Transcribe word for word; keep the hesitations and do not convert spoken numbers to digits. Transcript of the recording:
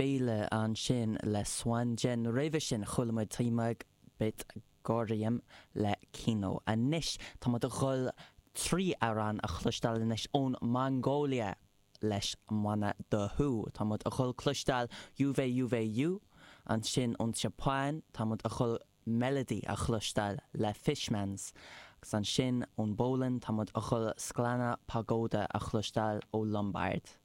Féile ansin le Swanjen roimhe sin chuala muid Timag Bit Gorium le Kino. Anois tá muid ag dul trí amhrán a chloisteáil anois ón Mongóilia leis an mbanna The Hu. Tá muid ag dul cloisteáil Yuve Yuve Yu ansin ón Seapáin tá muid ag dul Melody a chloisteáil le Fishmans. Agus ansin ón bPolainn tá muid ag dul Szklana Pogoda a chloisteáil ó Lombard.